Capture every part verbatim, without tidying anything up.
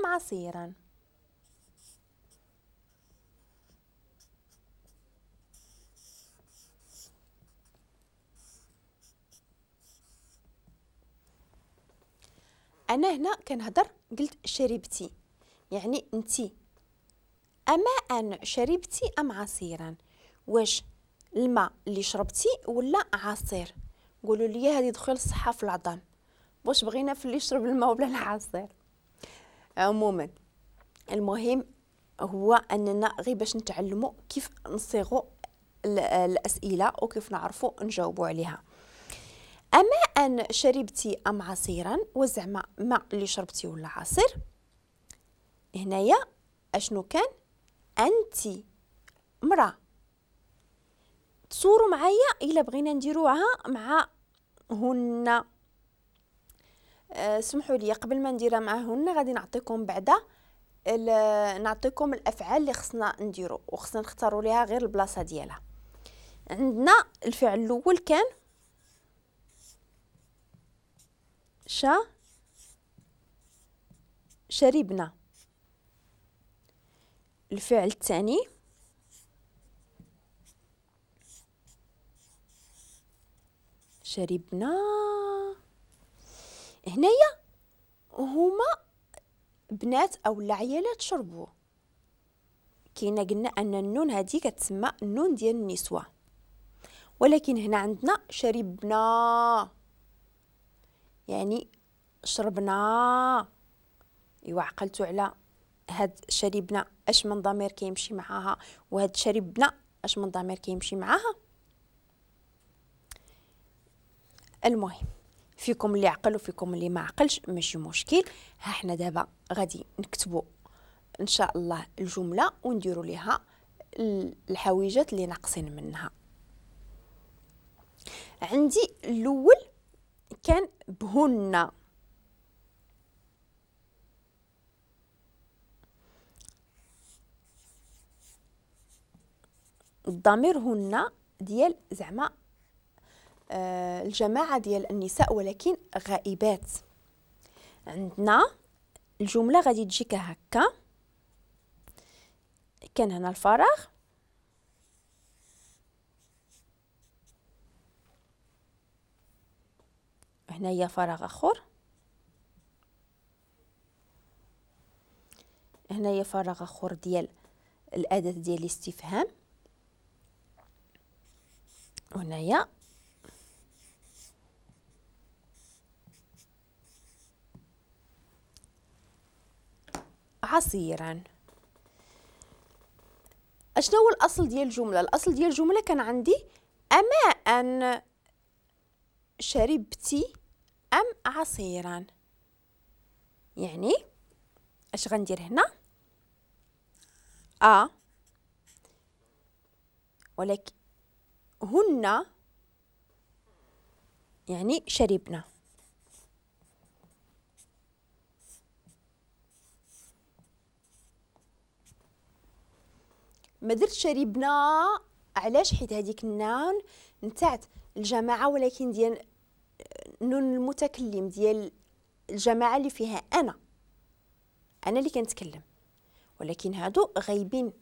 أم عصيرا؟ أنا هنا كنهضر قلت شربتي، يعني انتي. أماء شربتي أم عصيرا؟ واش الماء اللي شربتي ولا عصير؟ قولوا لي هذه دخل الصحة في العظام، واش بغينا في اللي يشرب الماء ولا العصير؟ عموما المهم هو أننا غير باش نتعلموا كيف نصيغوا الأسئلة وكيف نعرفوا نجاوبوا عليها. أماء شربتي أم عصيرا؟ وزعما ماء اللي شربتي ولا عصير؟ هنايا أشنو كان؟ أنتي مرأة. تصوروا معايا إلا بغينا نديروها مع هن. أه سمحوا لي قبل ما نديرها مع هن غادي نعطيكم بعدا نعطيكم الأفعال اللي خصنا نديرو وخصنا نختاروا ليها غير البلاصة ديالها. عندنا الفعل الأول كان شا شربنا. الفعل الثاني شربنا. هنايا هما بنات او العيالات شربوا. كاينه قلنا ان النون هذه كتسمى النون ديال النسوة، ولكن هنا عندنا شربنا يعني شربنا. ايوا عقلتوا على هاد شربنا اش من ضمير كيمشي معاها، وهاد شربنا اش من ضمير كيمشي معاها. المهم فيكم اللي عقل وفيكم اللي ما عقلش ماشي مشكل. ها حنا دابا غادي نكتبوا ان شاء الله الجملة ونديروا ليها الحويجات اللي ناقصين منها. عندي الاول كان بهن، الضمير هن ديال زعما آه الجماعة ديال النساء ولكن غائبات. عندنا الجملة غادي تجي كهكا، كان هنا الفراغ، هنايا فراغ اخر، هنايا فراغ اخر ديال الأداة ديال الاستفهام، هنايا عصيرا. اشنو هو الاصل ديال الجملة؟ الاصل ديال الجملة كان عندي اماء شربتي ام عصيرا، يعني اش غندير هنا؟ ا ولكن هن يعني شربنا. ما درت شربنا علاش؟ حيت هذيك النون نتاعت الجماعة ولكن ديال نون المتكلم ديال الجماعة اللي فيها انا، انا اللي كنتكلم، ولكن هادو غايبين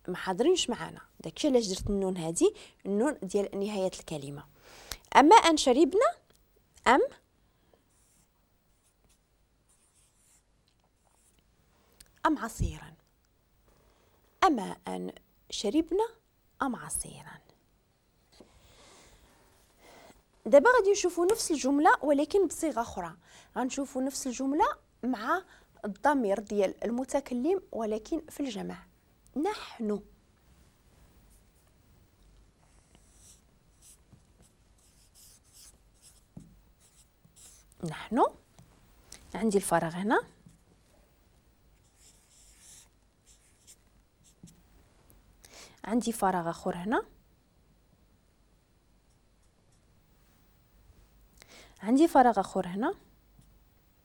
ما حاضرينش معانا. داكشي علاش درت النون هادي، النون ديال نهاية الكلمة. اما ان شربنا ام ام عصيرا، اما ان شربنا ام عصيرا. دابا غادي نشوفوا نفس الجملة ولكن بصيغة اخرى. غنشوفوا نفس الجملة مع الضمير ديال المتكلم ولكن في الجمع. نحن نحن عندي الفراغ هنا، عندي فراغ اخر هنا، عندي فراغ اخر هنا،